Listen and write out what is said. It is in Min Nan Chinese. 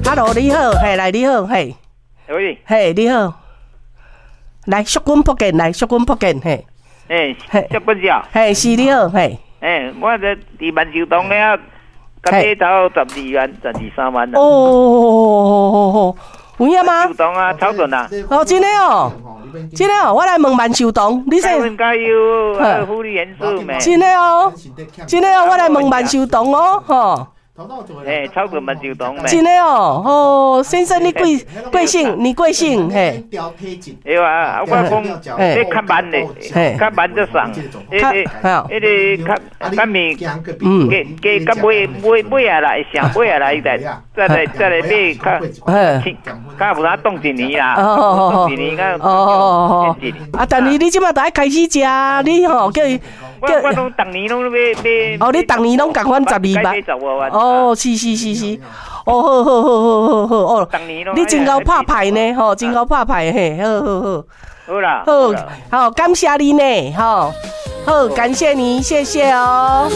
Hello，你好，嘿，來你好，嘿，喂，嘿，你好，來，淑君福建，來，淑君福建，嘿，欸，淑君姐，嘿，是你好，嘿，欸，我這佇萬壽堂遐，共買頭12萬、12、3萬啦。哦，有影嗎？壽堂啊，草屯啊。哦，真的哦，真的哦，我來問萬壽堂，你說。加油，福利元素沒？真的哦，真的哦，我來問萬壽堂哦，吼。欸，草屯萬壽堂。真的哦，哦，先生你貴貴姓？你貴姓？嘿。對啊，我講你較慢的，較慢就送。彼個較較面，加加尾尾尾仔來，上尾仔來再再來再來買較，較無哪凍一年啦，凍一年較哦。啊，但是你這擺就愛開始食，你吼叫伊。我我攏逐年攏買買。哦，你逐年攏共款12萬。哦，是是是是，哦，好好好好好好哦，你真𠢕拍牌呢，吼，真𠢕拍牌嘿，好好好。好啦，好，好，感謝你呢，吼，好，感謝你，謝謝哦。